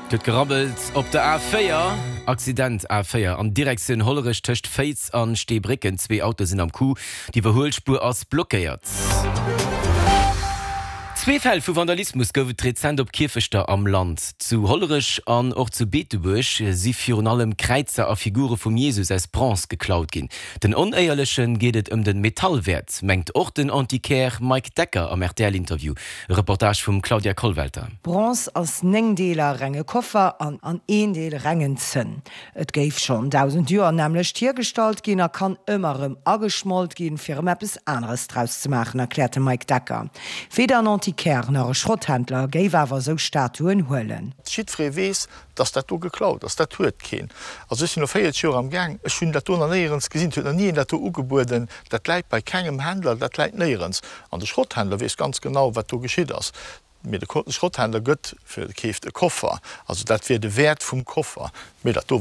Et huet gerabbelt op der A4. Accident A4 an Direktioun Hollerech tëscht Féiz an Steebrécken. Zwee Autoe sinn am Coup. D'Iwwerhuelspuer ass blockéiert. Zwee Fäll vu Vandalismus gouf et rezent op Kierfechter am Land. Zu Hollerech an och zu Beetebuerg si virun allem Kräizer a Figure vum Jesus aus Bronze geklaut ginn. Den Onéierleche geet et ëm de Metallwäert, mengt och den Antiquaire Mike Decker am RTL-Interview. E Reportage vum Claudia Kollwelter. Bronze ass 9 Deeler renge Koffer an an een Deel rengen Zënn. Et géif schonn 1.000 Joer nämmlecht hiergestallt ginn a kann ëmmer erëm ageschmolt ginn, fir erëm eppes aneres draus ze maachen, erkläert de Mike Decker. Weder en Antiquaire nach e Schrotthändler géif awer esou Statuen huelen. Jiddweree weess, dass dat do geklaut ass. Dat huet keen. Also ech sinn elo 40 Joer am Gaang, ech hunn dat do nach néierens gesinn. Et huet nach ni een dat do ugebueden. Dat läit bei kengem Händler, dat läit néierens. An de Schrotthändler weess ganz genau, wat do geschitt ass. Mee de Schrotthändler gëtt fir, keeft e Koffer. Also dat wier de Wäert vum Koffer. Mee dat do.